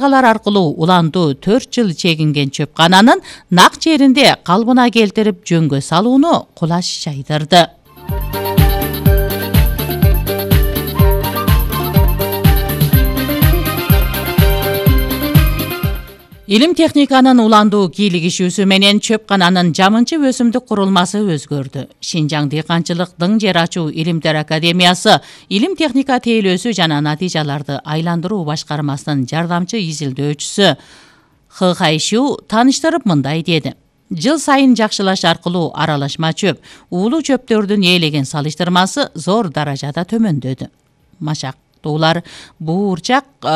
аркылуу уландуу 4 жыл чегинген чөпкананын нак жеринде калыбына келтирип жөнгө салууну кулаш жайдырды. Илим техниканын уландуу кийлигишүүсү менен чөпкананын жамынчы өсүмдүк курулмасы өзгөрдү. Шинжаң дыйканчылык дың жер ачуу илимдер академиясы илим техника тейлөөсү жана натыйжаларды айландыруу башкармасынын жардамчы изилдөөчүсү Хы Хайшу тааныштырып мындай деди. Жыл сайын жакшылаш аркылуу аралашма чөп, уулуу чөптөрдүн ээлеген салыштырмасы зор даражада төмөндөдү. Машактуулар буурчак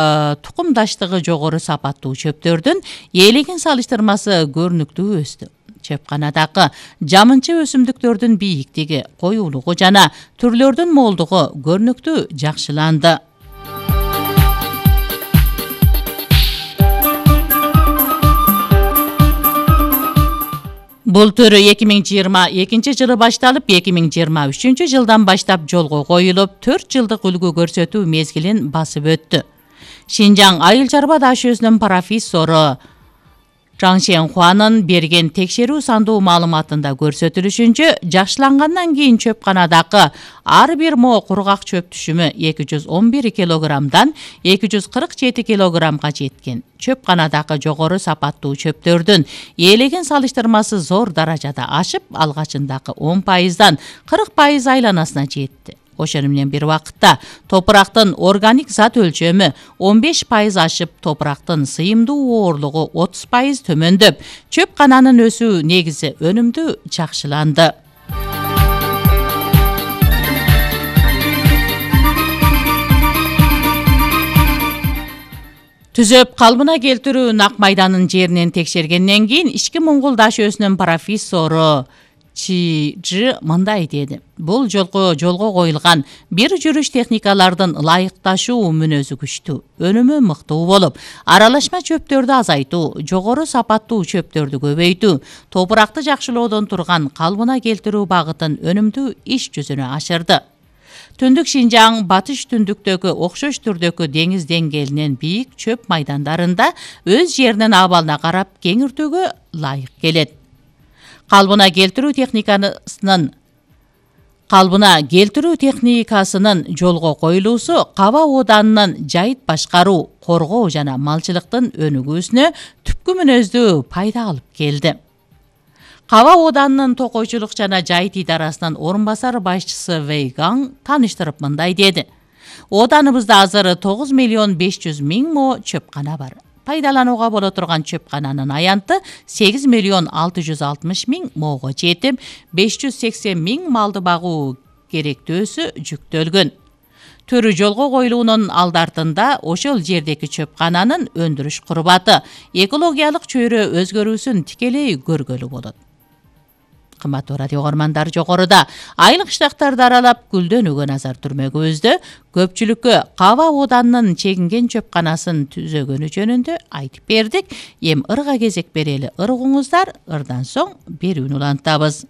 тукумдаштыгы жогору сапаттуу чөптөрдүн ээлеген салыштырмасы көрүнүктүү өстү. Чөпканадагы жамынчы өсүмдүктөрдүн бийиктиги, коюулугу жана түрлөрдүн молдугу көрүнүктүү жакшыланды. Бул түрү 2022 жылы башталып, 2023 жылдан баштап жолго коюлуп, 4 жылдык үлгү көрсөтүү мезгилин басып өттү. Шинжаң айыл чарба дашөөсүнүн профессору Чжан Шенхуанын берген текшерүү сандуу маалыматында көрсөтүлүшүнчө, жакшылангандан кийин чөпканадагы ар бир мо кургак чөп түшүмү 211 килограммдан 247 килограммга жеткен. Чөпканадагы жогору сапаттуу чөптөрдүн ээлеген салыштырмасы зор даражада ашып, алгачындагы 10%дан 40% айланасына жетти. Ошону менен бир убакытта топурактын органик зат өлчөмү 15% ашып, топурактын сыйымдуу оорлугу 30% төмөндөп, чөпкананын өсүү негизи өнүмдүү жакшыланды. Түзөп калыбына келтирүү нак майданын жеринен текшергенден кийин ички моңгол дашөөсүнүн профессору Чжи мындай деди. Бул жолго коюлган бир жүрүш техникалардын ылайыкташуу мүнөзү күчтүү, өнүмү мыктуу болуп, аралашма чөптөрдү азайтуу, жогору сапаттуу чөптөрдү көбөйтүү, топуракты жакшылоодон турган калыбына келтирүү багытын өнүмдүү иш жүзүнө ашырды. Түндүк Шинжаң батыш түндүктөгү окшош түрдөгү деңиз деңгээлинен бийик чөп майдандарында өз жеринин абалына карап кеңиртүүгө ылайык келет. Калыбына келтирүү техникасынын жолго коюлуусу Каба Ооданынын жайыт башкаруу, коргоо жана малчылыктын өнүгүүсүнө түпкү мүнөздүү пайда алып келди. Каба Ооданынын токойчулук жана жайыт идарасынын орун басар башчысы Вэй Гаң тааныштырып мындай деди. Ооданыбызда азыр 9.500.000 мо чөпкана бар. Пайдаланууга боло турган чөпкананын аянты 8.660.000 моого жетип, 580.000 малды багуу керектөөсү жүктөлгөн. Түрү жолго коюлуунун алдартында ошол жердеги чөпкананын өндүрүш курбаты, экологиялык чөйрө өзгөрүүсүн тикелей көргөлү болот. Кымбаттуу радио угармандар, жогоруда айыл кыштактарды аралап гүлдөнүүгө назар түрмөгүбүздө көпчүлүккө Каба Ооданынын чегинген чөпканасын түзөгөнү жөнүндө айтып бердик. Эми ырга кезек берели ыргыңыздар, ырдан соң берүүнү улантабыз.